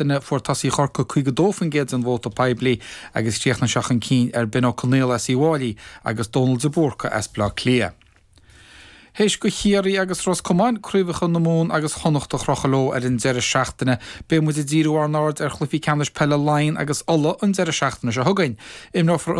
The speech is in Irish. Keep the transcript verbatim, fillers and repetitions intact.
seachtaine fuair tosaí Chorcaí caoga dó faoin gcéad den vóta poiblí agus chríochnaigh sé chun cinn ar Ben Ó Conghaile as Uíbh Fhailí agus Dónal de Búrca as Bleá Cliath. Théis do Chiarraí agus Ros Comáin craobhacha na Mumhan agus Chonnacht a chrochadh leo ar an deireadh seachtaine, beidh muid ag díriú ár n-aird ar chluichí ceannais peile Laighean agus Uladh an deireadh seachtaine seo chugainn. Imreofar an